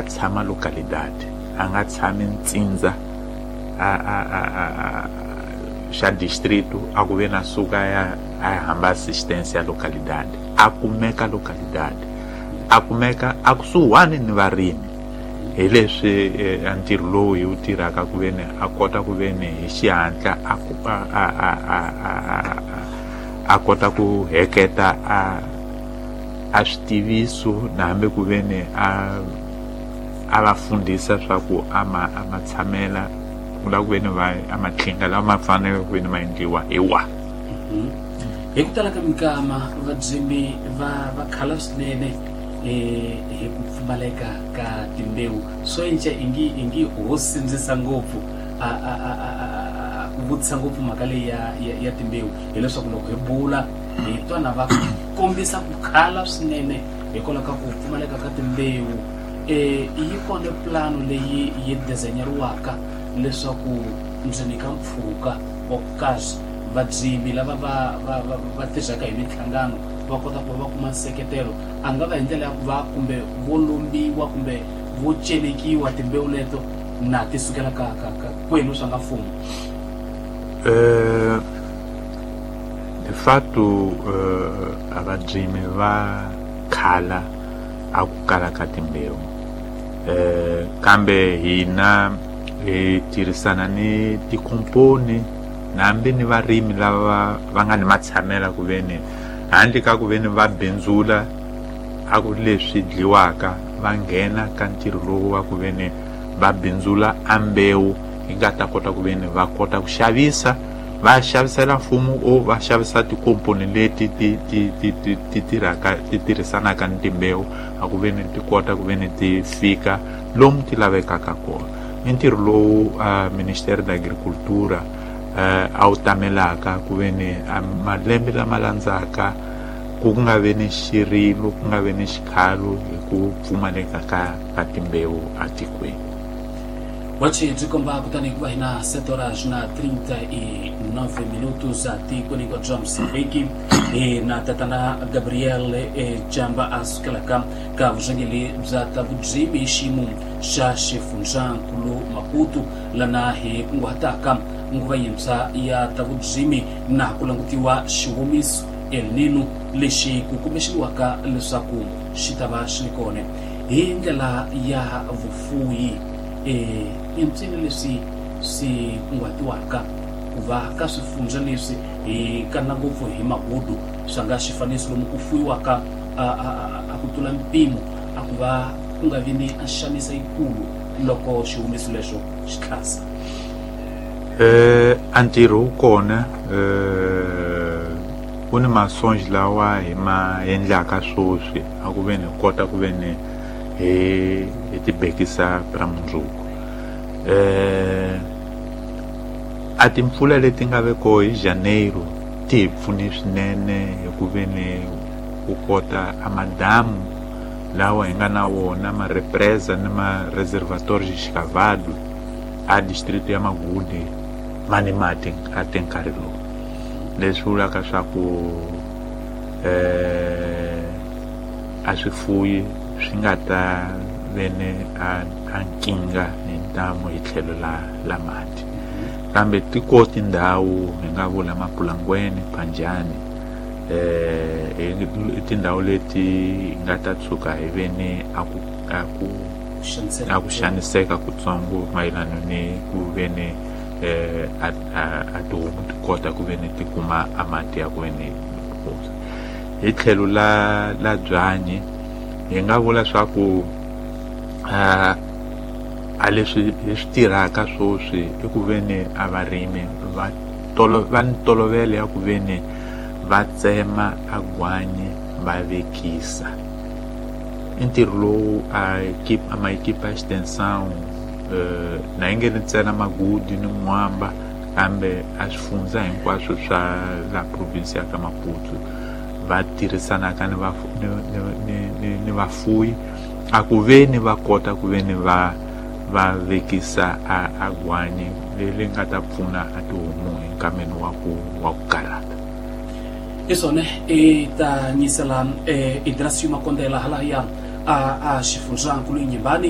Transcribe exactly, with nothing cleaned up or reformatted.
a tshama localidade, a nga tshami ntsindza a a a a xa distrito a ku ve na suka ya a hamba assistance ya localidade, a kumeka localidade, a kumeka a kusuhani ni varimi. Hi leswi a ntirho lowu hi wu tirhaka ku ve ni a kota ku ve ni hi xihatla a a a a a a kota ku heketa a a switiviso na hambi ku ve ni a a va fundisa swa ku a ma a ma tshamela ku la ku ve ni va a matlhinga lama ma faneleke ku ve ni ma endliwa hi wa. Hi ku tala ka minkama vadzimi va va khala swinene hi ku pfumaleka ka timbewu. Swo enca ingi ingi ho sindzisa ngopfu a a a a ku vutisa ngopfu mhaka leyi ya ya timbewu, hileswaku loko hi bula hi twana va kombisa ku khala swinene hikwalaho ka ku pfumaleka ka timbewu. Eh yi kona plano leyi yi designeriwaka leswaku ndzi nyika mpfhuka wa ku kahle vadzimi lava va va va va tirhaka hi minhlangano va kota ku va kuma nseketelo, a nga va hi ndlela ya ku va kumbe vo lombiwa kumbe vo celekiwa timbewu leto na ti sukela ka ka ka kwenu swa nga mfumo. Eh de fato eh abadzimi va khala a ku kala ka timbewu, eh kambe hina hi tirhisana ni tikomponi na hambi ni varimi lava va nga ni matshamela ku ve ni handle ka ku ve ni va bindzula a ku leswi dliwaka, va nghena ka ntirho lowu wa ku ve ni va bindzula a mbewu yi nga ta kota ku ve ni va kota ku xavisa, va xavisela mfumo o va xavisa tikomponi leti ti ti ti ti ti tirhaka ti tirhisanaka ni timbewu a ku ve ni ti kota ku ve ni ti fika lomu ti lavekaka kona. I ntirho lowu Ministério da Agricultura a wu tamelaka ku ve ni malembe lama landzaka ku nga ve ni xirilo, ku nga ve ni xikhalo hi ku pfumaleka ka ka timbewu atikweni. Wachi byi komba kutani ku va hina sete horas na trinta e nove minutos atikweni kwa bya Mozambique. Hi na tatana Gabriel Jamba a sukelaka ka vurhangeri bya ta vudzimi hi xiyimo xa xifundzankulu Maputo, lana hi kunguhataka nguva yintshwa ya ta vudzimi na ku langutiwa xiwomiso El Nino lexi ku kumbexeriwaka leswaku xi ta va xi ri kona hi ndlela ya vufuyi. Eh i mpsini leswi swi kunguhatiwaka ku va ka swifundza leswi hi kana ngopfu hi magudu swa nga xifaniso lomu ku fuyiwaka a a ku tlula mpimo a ku va ku nga vi ni a xanisa yikulu loko xihumiso lexo xi tlhasa. Eh a ntirho wu kona, eh ku ni masonji lawa hi ma endlaka sweswi a ku ve ni kota ku ve ni hi hi tibekisa ra mundzuku. Eh a timpfula leti nga ve koho hi Janeiro ti hi pfune swinene hi ku ve ni ku kota a madamu lawa hi nga na wona ma represa ni ma reservatório escavado a distrito ya Magude ma ni mati a te nkarhi lowu, leswi vulaka swa ku eh a swifuyi swi nga ta ve ni a a nkingha hi ntamu hi tlhelo la la mati. Kambe tiko tindhawu hi nga vula Mapulangweni, Phanjani, eh i tindhawu leti hi nga ta tshuka hi ve ni a ku a ku a ku xaniseka kutsongo mayelana ni ku ve ni eh a a tihomu ti kota ku ve ni ti kuma a mati ya ku ve ni hi tlhelo la la byanyi. Hi nga vula swa ku a a leswi hi swi tirhaka sweswi i ku ve ni a varimi va tolo va ni tolovelo ya ku ve ni va tsema a gwanyi va vekisa. I ntirho lowu a equipe a ma equipe ya extensão eh na yi nge ni ntsena Magudu ni Mwamba, kambe a swifundza hinkwaswo swa la province ya ka Maputo va tirhisanaka ni va ni ni ni ni vafuyi a ku ve ni va kota ku ve ni va va vekisa a a gwanyi leri nga ta pfuna a tihomu hi nkameni wa ku wa ku karhata. I swona i ta nyisela Idrasio Makondela halaya a a xifundzankulu Nyimbani.